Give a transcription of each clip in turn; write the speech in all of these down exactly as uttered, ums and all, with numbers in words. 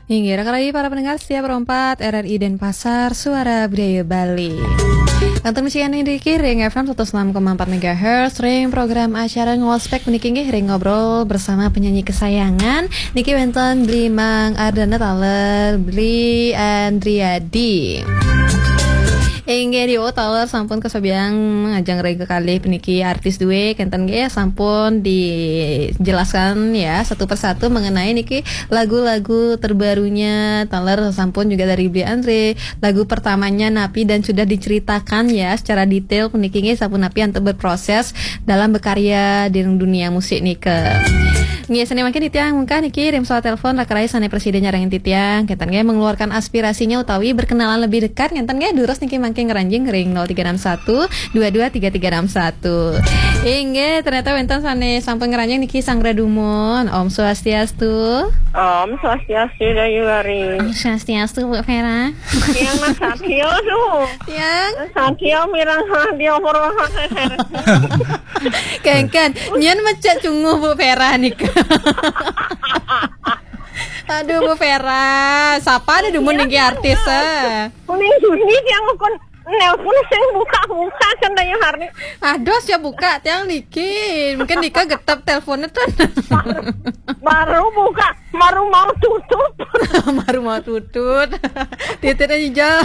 Inggih, raka rayi para pendengar setia Pro empat R R I Denpasar, Suara Budaya Bali. Kantun masihan niki ring F M satus enam koma empat megahertz, ring program acara Ngospek puniki inggih ring ngobrol bersama penyanyi kesayangan. Niki wénten Bli Mang Ardana taler Bli Andriadi. Inggih, di taler sampun kasobiahang ngajeng ring kekalih puniki artis dué, kénten nggih sampun dijelaskan ya satu persatu mengenai niki lagu-lagu terbarunya, taler sampun juga dari Bli Andre, lagu pertamanya napi dan sudah diceritakan ya secara detail puniki nggih sampun napi antuk berproses dalam berkarya di dunia musik nika. Nggih, sané mangkin titiang mungkah niki ring pesawat telepon raka rayi sané prasida nyarengin titiang, kénten nggih mengeluarkan aspirasinya utawi berkenalan lebih dekat, kénten nggih durus niki mangkin ngranjing ring nol tiga enam satu dua dua tiga tiga enam satu. Inggih, ternyata wénten sané sampun ngranjing niki Sang Dumun. Om Swastiastu. Om Swastiastu, Dayu Ari. Om Swastiastu, Bu Vera. Tiang Mas Satyo tuh. Tiang. Satyo mireng radio Purwokerto. Kéngkén, nyén mecek cunguh Bu Vera nika. Aduh, Bu Vera, sapa ada dumun niki artis, eh? Kuning Juni tiang ukun nelpon sing buka-buka kan Dayu Hari. Aduh, siap buka tiang niki. Mungkin nika getep teleponnya tuh. Baru buka, baru mau tutup. Baru mau tutut. Titit aja.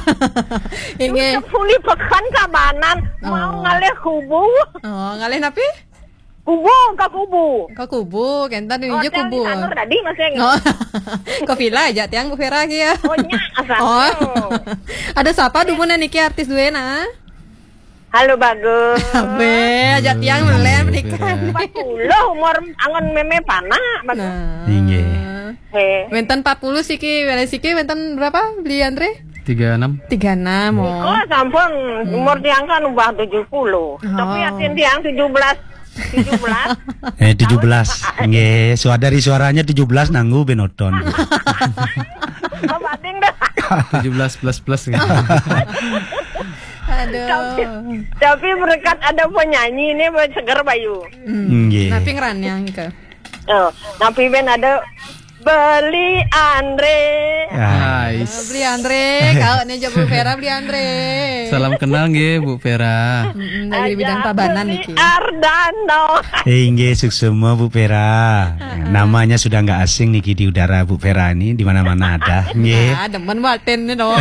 Inggih. Puli pekan Tabanan, mau Oh. ngalih kubu. Oh, ngalih napi? Kubu, ka kubu. Ka kubu, kénten Oh, niki tiang kubu. di Sanur tadi masih ingat. Oh. Ka villa aja tiang Bu Vera ki ya. Oh, nya, asal. Oh. Ada sapa dumun niki artis dué nah? Halo, bagus. Abe, aja tiang melen pernikahan. Empat puluh umur angon mémé panak, bagus. Nah. Inggih. Hé. Wénten empat puluh siki, wénten siki wénten berapa, Bli Andre? Tiga enam. Tiga enam, oh. Nika sampun umur tiang kan ubah tujuh puluh. Oh. Tapi atin tiang tujuh belas. Tujuh belas. Eh, tujuh belas. Nggih, suara dari suaranya tujuh belas nanggu benoton. Apa ding dah? Tujuh belas plus plus gitu. Aduh. Tapi, tapi berkat ada penyanyi ini seger bayu. Hmm. Nggih. Napi ngranjang nika? Oh, napi bén ada Beli Andre. Ah. Nice. Beli Andre, kalau nih Bu Vera Beli Andre. Salam kenal nggih Bu Vera. Mm-mm, dari bidang Ada Tabanan Beli niki. Ardano. Eh, nggih, suksema Bu Vera. Heeh. Namanya sudah nggak asing niki di udara Bu Vera ini, di mana-mana ada. Nggih. Ah, demen batin nih dong.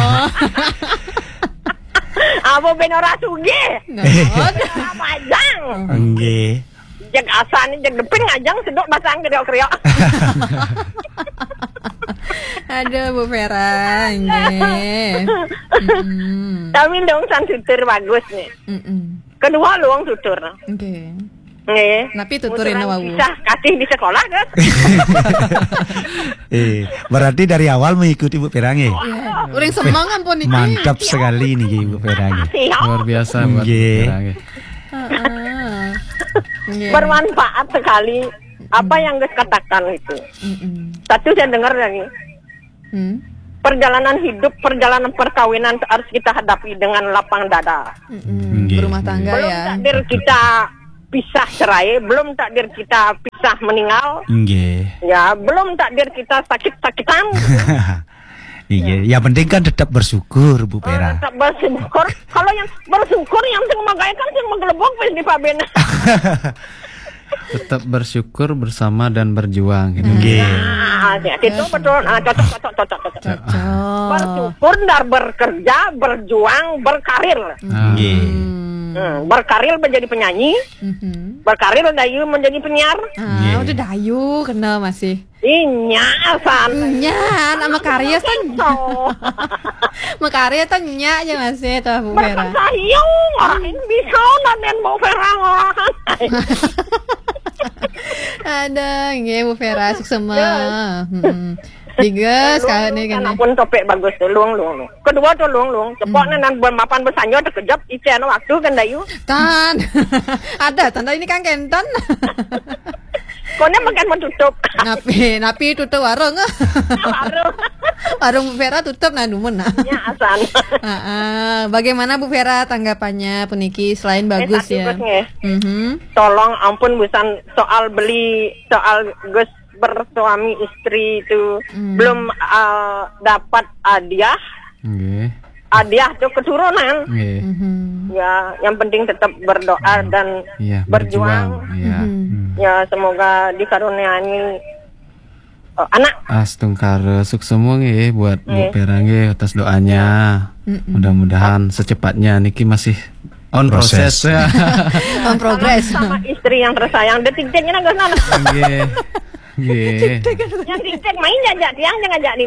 Apa bén ora sugih? Nah, Ora majang. Nggih. Jeg asan, jeg deping ajang sedok basang kriok-kriok. Aduh, Bu Vera, nggih. Mm-mm. Tapi dong san tutur bagus nih. Mm-mm. Kedua luang tutur. Nggih. Nggih. Napi tutur Tuturan ina wau? Kisah kasih di sekolah kan? Eh, berarti dari awal mengikuti Bu Vera nggih? Iya. Uring semeng ampun niki. Mantap sekali niki Bu Vera nggih. Siap. Luar biasa buat Nggih. Bu Vera nggih. Heeh. Nggih. Bermanfaat sekali apa yang Gus katakan itu. Mm-mm. Satu saya dengar dari Hmm. perjalanan hidup, perjalanan perkawinan harus kita hadapi dengan lapang dada. Mm-mm. Nggih. Berumah tangga Belum ya. takdir kita pisah cerai, belum takdir kita pisah meninggal. Nggih. Ya, belum takdir kita sakit-sakitan. Iya, yang penting kan tetap bersyukur, Bu Vera. Tetap bersyukur. Kalau yang bersyukur yang sing magaé kan sing menggelebok wis di pabén. Tetap bersyukur bersama dan berjuang gitu. Nggih. Nah, ya, itu betul. Ah, cocok, cocok, cocok, cocok. Cocok. Bersyukur dan bekerja, berjuang, berkarir. Ah. Nggih. Hmm, berkarir menjadi penyanyi, Mhm. berkarir Dayu menjadi penyiar. Ah, Nggih. udah Dayu kenal masih. Inya san. Nya, nama karya kan. Sama karya tuh nya aja masih tuh Bu Vera. Berkesayung, orang ini bisa nanen Bu Vera ngorang. Ada, nggih Bu Vera suksema. Yes. Mm-mm. Digas kali nih kan. Pun topik bagus tuh, luang, luang, luang. Kedua tuh luang, luang. Cepok Hmm. nih nan bermapan bersanyo terkejap, icen waktu kan Dayu. Tan. Ada tanda ini kan kenten. Koné makan menutup. Napi, napi tutup warung. Warung. Warung Bu Vera tutup nah dumun nah. Ya, asan. Ah, ah. Bagaimana Bu Vera tanggapannya puniki selain Eh, bagus satu ya? Gus nggih. Mhm. Tolong ampun busan soal beli soal Gus per suami istri itu belum, eh, dapat hadiah, Nggih. hadiah tuh keturunan. Nggih. Mhm. Ya, yang penting tetap berdoa dan Iya, berjuang. berjuang. Iya. Mhm. Hmm. Ya, semoga dikaruniai, eh, anak. Astungkara suksema nggih buat Bu Nggih. Vera nggih atas doanya. Mm-mm. Mudah-mudahan secepatnya niki masih on Proses. proses ya. On progress. Sama istri yang tersayang, detik-detiknya nggak sana. Nggih. Nggih. Yang detik main aja, tiang jangan jadi.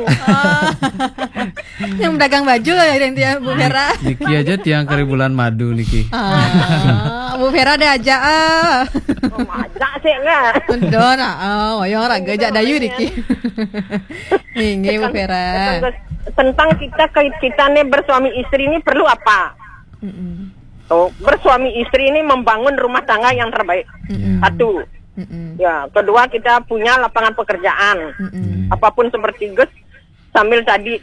Yang dagang baju lah yang dia Bu Vera. Niki aja tiang kari bulan madu niki. Ah, Bu Vera ada aja ah. Oh, aja sih enggak. Don ah, oh, yang raga jak dayu diki. Inggih Bu Vera. Tentang kita, kita nih bersuami istri ini perlu apa? Mm-mm. Oh, bersuami istri ini membangun rumah tangga yang terbaik. Ya. Satu. Mm-mm. Ya, kedua, kita punya lapangan pekerjaan. Mm-mm. Apapun seperti Gus, sambil tadi,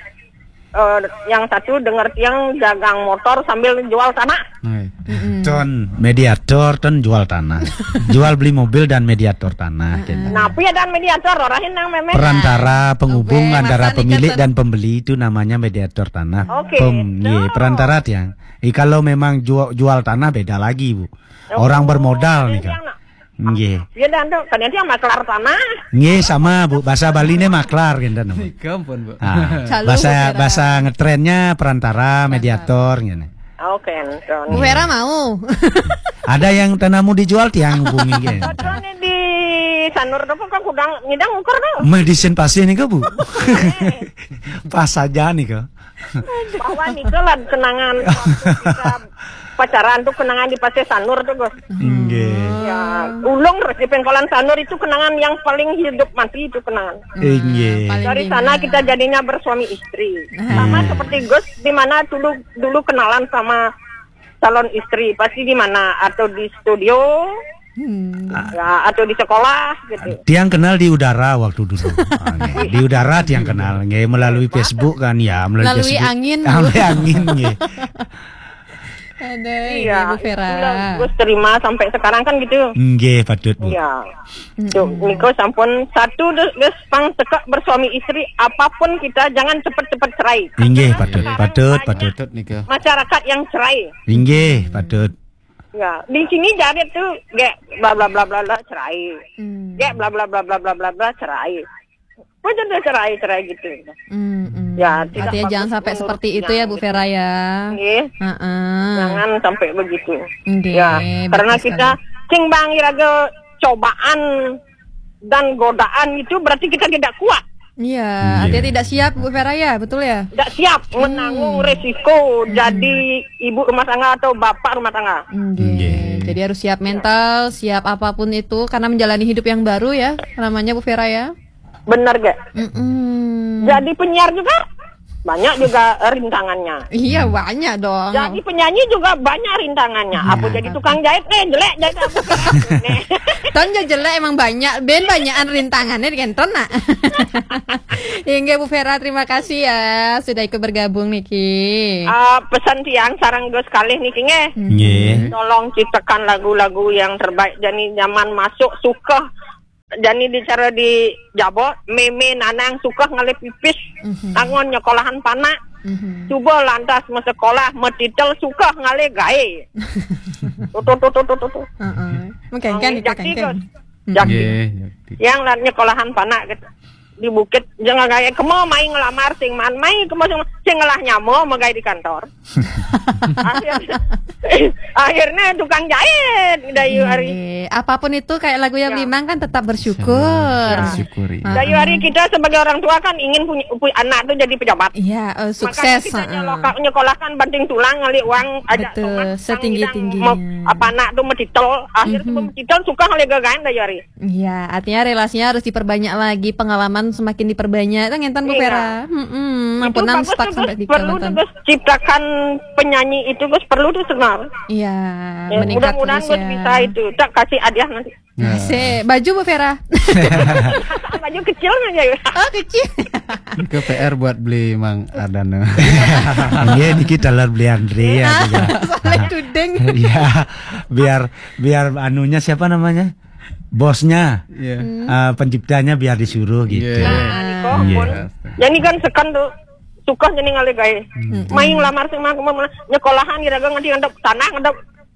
eh, yang satu dengar tiang dagang motor sambil jual tanah. Nggih. Mm-mm. Ton mediator, ton jual tanah. Jual beli mobil dan mediator tanah. Gitu. Nah, piye dan mediator, orahin nang memeh. Perantara penghubung Oke, antara masa nih pemilik kan dan pembeli itu namanya mediator tanah. Oke, Pem, so. Ye, perantara tiang. Eh, kalau memang jual, jual tanah beda lagi, Bu. Orang bermodal nih kan. Tiang nak. Nggih. Ya dan tuh, kan tiang maklar tanah. Nggih, sama, Bu. Bahasa Bali ini maklar gitu. Nika ampun, Bu. Ah, Calon bahasa Bu Vera. Bahasa ngetrennya perantara, mediator gitu. Oke, Anton. Bu Vera mau. Ada yang tanamu dijual tiang hubungi gitu. Betul nih di Sanur tuh kok kudang ngidang ukur tuh. Medisin pasih nih, Bu. Pas saja nih, kok. Bahwa nih lah kenangan waktu kita pacaran tuh, kenangan di Pasir Sanur tuh, Gus. Nggih. Ya, ulung terus di Pengkolan Sanur itu kenangan yang paling hidup mati itu kenangan. Nggih. Paling Dari indah. Sana kita jadinya bersuami istri. Sama Hmm. seperti Gus, di mana dulu dulu kenalan sama calon istri, pasti di mana, atau di studio, Hmm. ya, atau di sekolah gitu. Tiang kenal di udara waktu dulu. Ah, nggih. Di udara tiang kenal, nggih, melalui Facebook kan, ya, melalui, Melalui Facebook. Angin. Melalui Angin, nggih. Ada Iya, Bu Vera. Itulah Gus terima sampai sekarang kan gitu. Nggih, patut, Bu. Iya. Tuh, niko sampun satu, Gus, pang tekak bersuami istri, apapun kita jangan cepet-cepet cerai. Inggih, Karena patut, sekarang patut, banyak patut. Patut nika. Masyarakat yang cerai. Inggih, patut. Ya, di sini jarit tuh, gek bla bla bla bla bla cerai. Hmm. Gek bla bla bla bla bla bla bla cerai. Betul tuh cerai, cerai gitu. Hmm, hmm. Ya, tidak Artinya bagus jangan sampai menurut seperti itu tiang ya, Bu gitu. Vera ya. Nggih. Heeh. Jangan sampai begitu. Nggih, Ya, betul karena sekali. Kita cing bang iraga cobaan dan godaan itu berarti kita tidak kuat. Iya, Iya. artinya tidak siap Bu Vera ya, betul ya? Tidak siap menanggung resiko jadi ibu rumah tangga atau bapak rumah tangga. Nggih. Nggih. Jadi harus siap mental, siap apapun itu karena menjalani hidup yang baru ya, namanya Bu Vera ya. Benar gak? Mm-mm. Jadi penyiar juga banyak juga rintangannya. Iya, banyak dong. Jadi penyanyi juga banyak rintangannya. Apa jadi tukang jahit nih, jelek jahit apa? Nih. Tahun jelek emang banyak, ben banyakan rintangannya dengan nak. Inggih Bu Vera, terima kasih ya sudah ikut bergabung niki. Ah, pesan tiang sarang Gus kalih niki nggih. Nggih. Tolong ciptakan lagu-lagu yang terbaik. Jani zaman masuk suka. Jani dicara di Jabo, meme nanang suka ngalih pipis. Angon nyekolahan panak. Mhm. Cuba lantas masekolah, metitel suka ngalih gae. Tuh, tuh, tuh, tuh, tuh, tuh, tuh. Heeh. Mengkengken itu Jaki, kengken. Gus. Jaki. Nggih, ngerti. Yang lan nyekolahan panak gitu. Di bukit jangan gaya kemo mai ngelamar sing man mai kemo sing, sing ngelah nyamo megai di kantor. Akhirnya, akhirnya tukang jahit Dayu hari. Nggih. Apapun itu kayak lagu yang Ya. Limang kan tetap bersyukur. Bersyukuri. Ah. Dayu hari kita sebagai orang tua kan ingin punya, punya anak tuh jadi pejabat. Iya, eh, Makanya sukses. kita Heeh. nyeloka-, nyekolahkan banting tulang ngalih uang aja Betul, setinggi-tingginya. Apa anak tuh metitel, akhirnya Mhm. metitel suka ngalih gagain Dayu hari. Iya, artinya relasinya harus diperbanyak lagi, pengalaman semakin diperbanyak. Itu ngenten Bu Iya. Vera. Mm-mm, Itu ampun nang bagus stuck tuh, sampai Gus. di Perlu kecamatan. Tuh, Gus, ciptakan penyanyi itu, Gus, perlu tuh sebenarnya. Iya, Ya, meningkat mudah-mudahan terus Gus ya. Bisa itu. Tak kasih hadiah nanti. Nah, Sik, baju Bu Vera. Baju kecil aja ya. Oh, kecil. Ke P R buat beli Mang Ardan. Iya, niki taler beli Andre ya. Juga. Salah tuding. Iya, biar biar anunya siapa namanya? bosnya, eh, penciptanya biar disuruh gitu. Nah, niko, iya, pun. Jadi kan seken tuh suka jadi ngalih gawe. Main lamar sing mah, mah, mah, nyekolahan kira-kira ngadep tanah, ngadep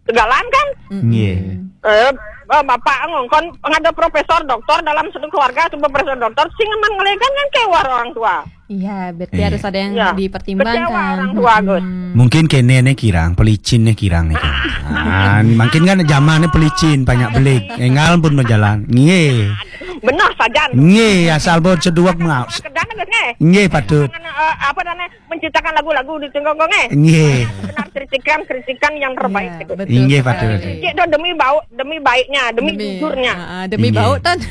segalan kan. Nggih. Eh, eh, bapak ngongkon ada profesor doktor dalam satu keluarga, atau profesor doktor sing aman ngalih gawe kan kewah orang tua. Iya, berarti harus ada yang dipertimbangkan. Kecewa orang tua, Gus. Mungkin kene ne kirang, pelicin ne kirang ne kirang. Ah, mungkin kan zamannya pelicin, banyak belik. Engal pun berjalan. Nggih. Benar saja. Nggih, asal pun seduak mau. Kedana, Gus, nggih. Nggih, patut. Eh, apa namanya, menciptakan lagu-lagu di tengkong, nggih. Nggih. Benar, kritikan, kritikan yang terbaik. Iya, gitu. Betul. Nggih, patut. Cek tuh demi bau, demi baiknya, demi jujurnya. Ah, ah, demi bau, Tan.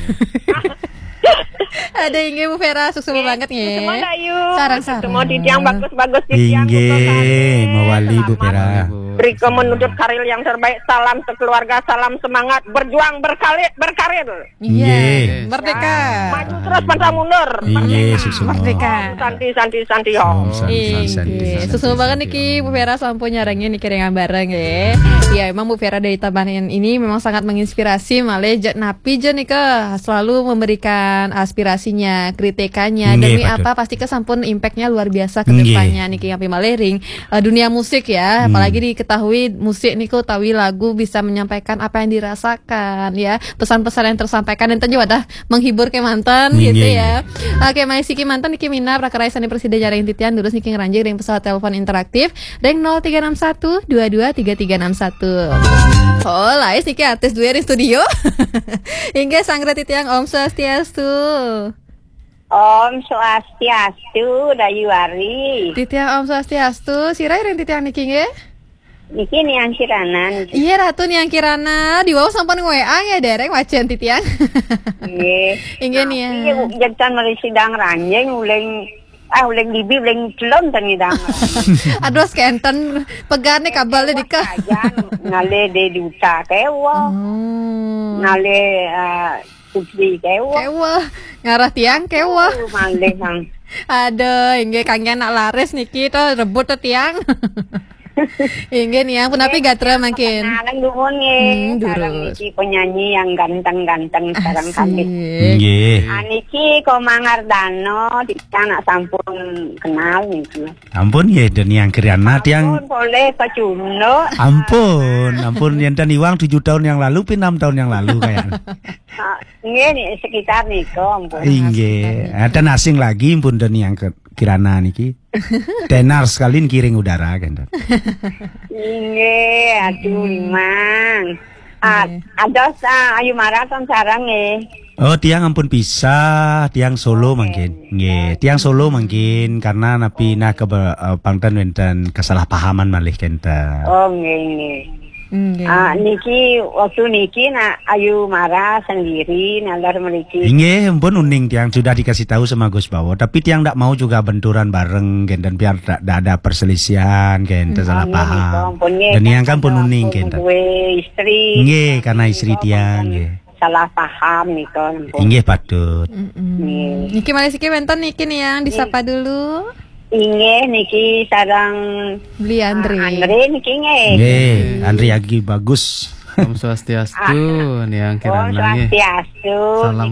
Ada, inggih, Bu Vera, sukses banget, nggih. Semua dayu. Sarang-sarang. Semua titiang bagus-bagus, titiang. Inggih, mawali, Bu Vera. Riko menuntut karir yang terbaik. Salam sekeluarga, salam semangat, berjuang, berkarir, berkarir. Iya. Merdeka. Maju terus, pantang mundur. Inggih, sukses. Merdeka. Santi, santi, santi, om. Santi, santi, santi, santi. Sukses banget niki, Bu Vera, sampun nyarengin niki ringan bareng, ya. Ya, emang Bu Vera dari Tabanan ini memang sangat menginspirasi, malah jek napi je nika selalu memberikan aspirasinya, kritikannya. Nggih, demi apa? Pasti kesampun impact-nya luar biasa ke depannya niki, yang malering, eh, dunia musik ya. Apalagi diketahui musik niku tawi lagu bisa menyampaikan apa yang dirasakan ya. Pesan-pesan yang tersampaikan dan tentu ada menghibur ke mantan gitu ya. Oke, Mai Siki mantan niki mina prakara sane presiden jaring titian terus niki ngeranjing ring pesawat telepon interaktif ring nol tiga enam satu dua dua tiga tiga enam satu. Oh, lais niki artis dua ring studio. Inggih, sanggra titiang, Om Swastiastu. Om Swastiastu, Dayu Ari. Titiang Om Swastiastu, sira ring titiang niki nggih? Niki Niang Kirana niki. Iya, Ratu Niang Kirana, di wau sampun nge-W A ya, dereng wacan titiang. Nggih. Inggih, Niang. Iya, Bu, jek tan mari sidang ranjing, uling, ah, uling bibi, uling celon tan ngidang. Aduh, skenten, pegarne kabel dikah. Ngalih de duta kewah. Oh. Ngalih, eh, Putri kewah. Kewah. Ngarah tiang kewah. Oh, malih, Mang. Aduh, inggih, kangge anak laris niki to, rebut to tiang. Inggih, Niang, punapi gatra mangkin? Perkenalan dulu nggih. Hmm, sareng durus. Niki penyanyi yang ganteng-ganteng sekarang kami. Asik. Nggih. Ah, niki Komang Ardano, titiang nak sampun kenal niki. Ampun nggih, den Niang Kirana tiang. Ampun, boleh kecunduk. Ampun, ampun, yen ten iwang tujuh tahun yang lalu, pi enam tahun yang lalu kayaknya. Ah, nggih, nih, sekitar niku, ampun. Inggih, enten asing lagi, ampun, den Niang Ke-, Kirana niki. Tenar sekali niki ring udara, kenten. Inggih, aduh, Mang. Ah, nggih. Ados, ah, Ayu Mara ton sareng nggih. Oh, tiang ampun pisah, tiang solo mangkin. Nggih, tiang solo mangkin karena napi nah ke, eh, pangten wenten kesalahpahaman malih kenten. Oh, nggih, nggih. Nggih. Ah, niki waktu niki nak Ayu Mara sendiri nalar mriki. Inggih, ampun uning tiang sudah dikasih tahu sama Gus Bawo, tapi tiang ndak mau juga benturan bareng kenten biar tak, tak ada perselisihan kenten, salah paham. Nggih, ampun, nggih. Dan yang kan pun uning kenten. Duwe istri. Nggih, karena istri tiang, nggih. Salah paham nika, ampun. Inggih, patut. Mm-mm. Nggih. Niki malih siki wenten niki nih yang disapa dulu. Inggih, niki sareng Beli Andre. Ah, Andre niki nggih. Nggih, Andre Agi Bagus. Om Swastiastu, ah, Niang Kirana nggih. Om Swastiastu. Salam